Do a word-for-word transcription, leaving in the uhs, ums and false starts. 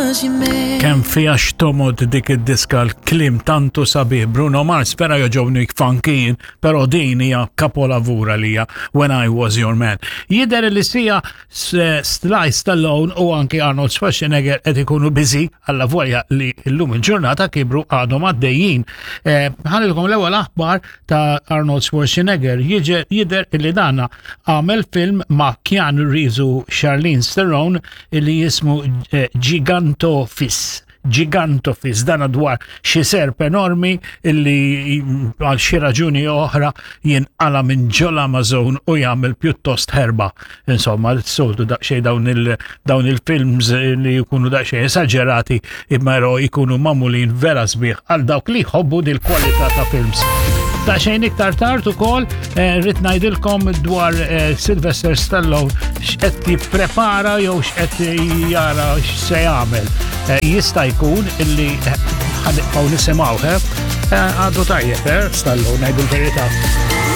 was your man. Kemm fiha x'tomgħod dik id-diska, l-kliem tantu sabiħ. Bruno Mars vera jogħġobni funky, però din hija kapolavura li hija When I Was Your Man. Jidher li sija Sly Stallone u anki Arnold Schwarzenegger qed ikunu busy, alla volja li llum il-ġurnata kibru għadhom għaddejjin. Eh, ħa ngħidilkom l-ewwel aħbar ta' Arnold Schwarzenegger: jidher li dana għamel film ma' Keanu Reeves u Charlize Theron li jismu eh, Gigantophis. Gigantophis, dana dwar xi serp enormi illi għal xi raġuni oħra jinqala minn ġol Amazon u jagħmel pjuttost ħerba. Insomma, s-soltu daqsxejn dawn il dawn il-films li jkunu daqsxejn esaġerati, imma jkunu magħmulin vera sbieħ għal dawk li jħobbu dil-kwalità ta' films. Daqsxejn iktar tard ukoll eh, rrid ngħidilkom dwar eh, Sylvester Stallone, x'qed jipprepara jew x'qed jara x'se jagħmel. Eh, jista' jkun illi ħa nibqgħu nisimgħu, għadu tajjeb, Stallone, ngħidu l-verità.